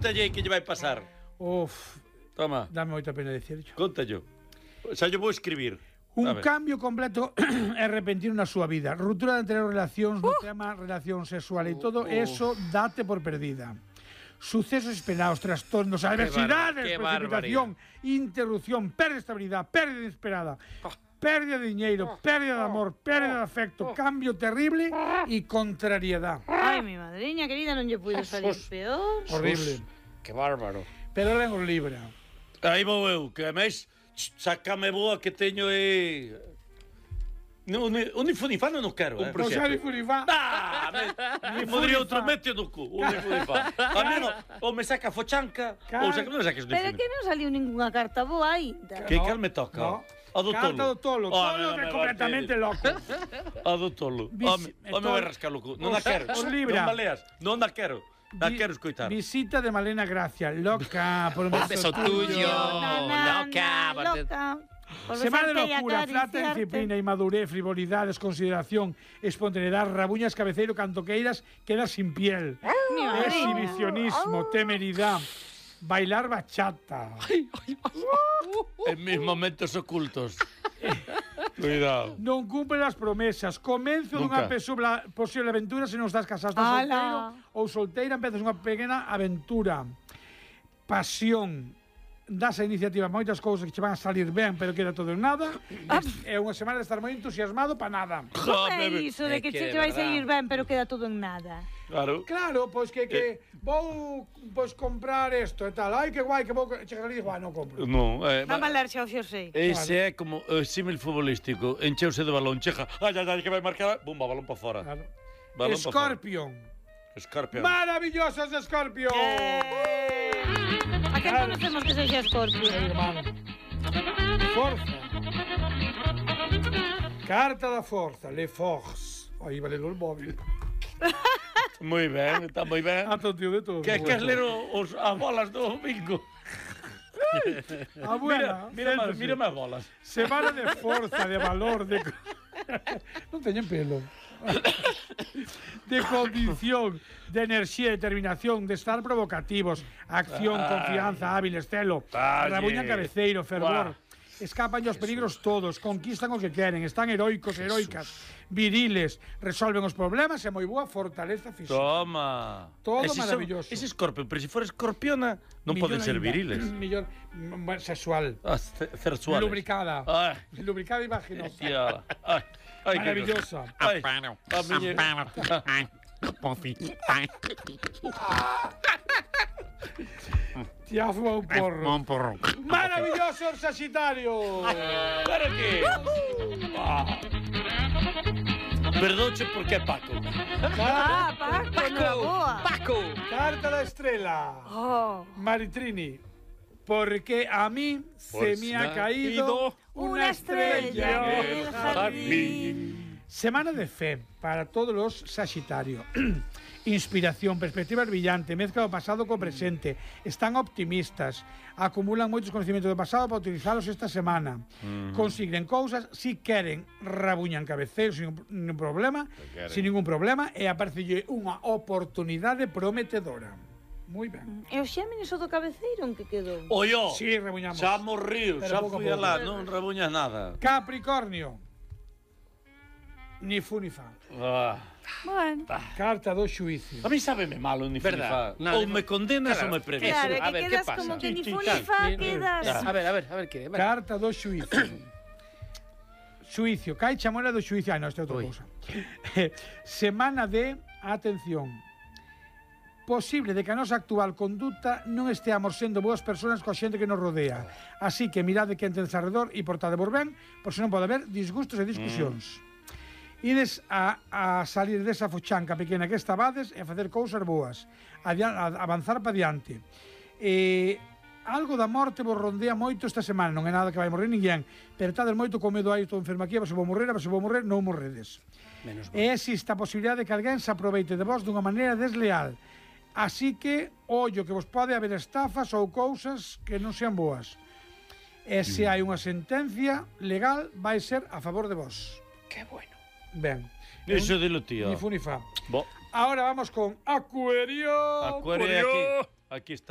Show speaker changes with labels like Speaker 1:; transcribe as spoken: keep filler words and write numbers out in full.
Speaker 1: Contalle que lle vai pasar.
Speaker 2: Uf,
Speaker 1: Toma,
Speaker 2: dame moita pena dicirlo.
Speaker 1: contallo. Xa lle vou escribir.
Speaker 2: Un
Speaker 1: A ver.
Speaker 2: cambio completo e repentino na súa vida. Ruptura de anteriores relacións no tema relación sexual e todo eso date por perdida. Sucesos esperados, trastornos, adversidades,
Speaker 3: qué
Speaker 2: precipitación, interrupción, pérdida de estabilidad, pérdida inesperada, pérdida de diñeiro, pérdida de amor, pérdida de afecto, cambio terrible e contrariedad.
Speaker 4: Ai, mi madriña querida, non lle puido salir peor.
Speaker 2: Horrible.
Speaker 3: Qué bárbaro.
Speaker 2: Pero len os libra.
Speaker 1: Aí vou eu, que máis sácame boa que teño e... No, un infunifano non quero, eh?
Speaker 2: O xa ni furifá.
Speaker 1: Ah, me, me podría outro mete no cu, un infunifano. A mí non, ou me saca fochanca, ou saca, non me saques
Speaker 4: Pero é que non saliu ninguna carta boa aínda.
Speaker 1: Que
Speaker 2: No,
Speaker 1: cal me toca?
Speaker 2: no.
Speaker 1: A do
Speaker 2: Carta do
Speaker 1: tolo.
Speaker 2: tolo.
Speaker 1: Oh,
Speaker 2: Tolo
Speaker 1: no,
Speaker 2: que é
Speaker 1: me
Speaker 2: completamente
Speaker 1: va
Speaker 2: loco.
Speaker 1: A do tolo.
Speaker 2: Vis-
Speaker 1: Home, home
Speaker 2: tolo-
Speaker 1: vai rascar o cu. Non a quero.
Speaker 2: Os libra.
Speaker 1: Non baleas. Non a quero. A
Speaker 2: Vi-
Speaker 1: quero escoitar.
Speaker 2: Visita de Malena Gracia, loca por un
Speaker 3: Un beso tuyo.
Speaker 4: Na, na,
Speaker 3: Loca,
Speaker 4: na,
Speaker 3: porque-
Speaker 4: loca. Por
Speaker 2: Semana de
Speaker 4: besarte y
Speaker 2: locura, flata,
Speaker 4: acariciarte.
Speaker 2: disciplina, inmadurez, frivolidades, consideración, espontaneidad, rabuñas, cabeceiro, cantoqueiras, queda sin piel.
Speaker 4: Mi madriña.
Speaker 2: Exhibicionismo, temeridad, bailar bachata.
Speaker 1: En mis momentos ocultos. Cuidado.
Speaker 2: Non cumple as promesas. Comenzo
Speaker 1: Nunca.
Speaker 2: dunha posible, posible aventura se non estás casado, estás
Speaker 4: Ala.
Speaker 2: solteiro ou solteira, empezas unha pequena aventura. Pasión. Das a iniciativa moitas cousas que che van a salir ben, pero queda todo en nada. É unha semana de estar moi entusiasmado para nada.
Speaker 4: Como é iso de
Speaker 3: É
Speaker 4: que
Speaker 3: que
Speaker 4: che
Speaker 3: de
Speaker 4: te vai
Speaker 3: verdad.
Speaker 4: sair ben, pero queda todo en nada?
Speaker 1: Claro.
Speaker 2: Claro, pois que, que vou pois comprar isto e tal. Ai, que guai, que vou chegar ali e digo, ah, non compro.
Speaker 1: Non, eh,
Speaker 4: Va a malar xa o xersei.
Speaker 1: ese é como o símil futbolístico. Encheuse de balón, cheja. Ai, ai, ai, que vai marcar. Bumba, balón para fora.
Speaker 2: Claro.
Speaker 1: Balón pa fora.
Speaker 2: Scorpion.
Speaker 1: Scorpion.
Speaker 2: Maravillosos Scorpion.
Speaker 4: A quen conocemos que sexa Scorpio?
Speaker 2: Hermano. Forza. Carta da forza, le force. Aí vale o móvil.
Speaker 1: Moi ben, está moi ben.
Speaker 2: Ah, tío de todo.
Speaker 1: Que queres ler os, as bolas do bingo?
Speaker 2: A buena.
Speaker 1: Mira, mira, máis,
Speaker 2: Céntrase.
Speaker 1: mira máis bolas.
Speaker 2: Semana de forza, de valor, de... non teñen pelo. De condición, de enerxía, determinación, de estar provocativos, acción,
Speaker 1: Ay.
Speaker 2: confianza, hábiles, celo,
Speaker 1: Ay.
Speaker 2: rabuña cabeceiro, fervor.
Speaker 1: Buah.
Speaker 2: Escapan os peligros todos, conquistan o que queren, están heroicos, heroicas, viriles, resolven os problemas e moi boa fortaleza física.
Speaker 1: Toma.
Speaker 2: Todo
Speaker 1: Ese
Speaker 2: maravilloso.
Speaker 1: Son, ese escorpión, pero se for escorpiona, non
Speaker 2: Millón
Speaker 1: poden ser
Speaker 2: ainda.
Speaker 1: viriles.
Speaker 2: Millón, mm, bueno, sexual.
Speaker 1: Ah, ce- cersuales.
Speaker 2: Lubricada.
Speaker 1: Ai,
Speaker 2: Lubricada e vaginosa.
Speaker 1: tía. Ai, ai, que
Speaker 2: Maravillosa.
Speaker 1: Ai,
Speaker 3: Amparo.
Speaker 1: a miña...
Speaker 3: Amparo. Ay, Pofi. Ay,
Speaker 2: Ti ha fumado un porro.
Speaker 3: un porro.
Speaker 2: Maravilloso el Sagitario.
Speaker 1: Para que? Ah. Perdoche porque é Paco.
Speaker 4: Ah, Paco, na boa.
Speaker 3: Paco.
Speaker 2: Carta da estrela.
Speaker 4: Oh.
Speaker 2: Maritrini. Porque a mí se me ha caído una estrella del jardín. Semana de fe para todos los Sagitario. Inspiración, perspectivas brillantes, mezcla do pasado co presente. Están optimistas, acumulan moitos conhecimentos do pasado para utilizalos esta semana. Mm. Consiguen cousas, si queren, rabuñan cabeceiros sin ningún problema, sin ningún problema, e aparecelle unha oportunidade prometedora. Moi ben.
Speaker 4: E o Xéminis o do cabeceiro en que quedou?
Speaker 1: Oyo,
Speaker 2: Sí, rabuñamos.
Speaker 1: xa morriu,
Speaker 2: Pero
Speaker 1: xa
Speaker 2: pouco a
Speaker 1: fui
Speaker 2: pouco.
Speaker 1: alá, non rabuñas nada.
Speaker 2: Capricornio. Ni fu ni fa.
Speaker 1: Ah.
Speaker 4: Bueno.
Speaker 2: Carta do xuicio.
Speaker 1: A mí sábeme malo ni
Speaker 3: Verdad.
Speaker 1: flifa.
Speaker 3: No,
Speaker 1: ou
Speaker 3: no,
Speaker 1: me condenas
Speaker 3: claro.
Speaker 1: ou me premias.
Speaker 4: Claro, é
Speaker 3: a
Speaker 4: que
Speaker 3: ver,
Speaker 4: quedas
Speaker 3: ¿qué pasa?
Speaker 4: como que ni
Speaker 2: Sí,
Speaker 4: fu
Speaker 2: sí,
Speaker 4: ni
Speaker 2: sí.
Speaker 4: fa,
Speaker 3: Ni-
Speaker 4: quedas...
Speaker 3: A ver, a ver, a ver que.
Speaker 2: Carta do xuicio. Xuicio, cai chamola do xuicio. Ah, non, esta é outra
Speaker 3: Ui.
Speaker 2: cousa. Semana de atención. Posible de que a nosa actual conduta non esteamos sendo boas persoas coa xente que nos rodea. Así que mirade que entendes alrededor e portade por ben, por se non pode haber disgustos e discusións. Mm. Ides a, a salir desa fochanca pequena que estabades e a facer cousas boas. A, a avanzar para diante. E algo da morte vos rondea moito esta semana. Non é nada que vai morrer ninguén, pero tades moito con medo aí, estou enfermo aquí, a ver se vou morrer, a ver se vou morrer, non morredes.
Speaker 3: Menos mal.
Speaker 2: E existe a posibilidade de que alguén se aproveite de vos dunha maneira desleal. Así que, ollo, que vos pode haber estafas ou cousas que non sean boas. E se hai unha sentencia legal, vai ser a favor de vos.
Speaker 3: Qué bueno.
Speaker 2: Ben.
Speaker 1: Eso dilo, tío.
Speaker 2: Ni fu ni fa.
Speaker 1: Bo,
Speaker 2: Ahora vamos con Acuario.
Speaker 1: Acuario, aquí, aquí está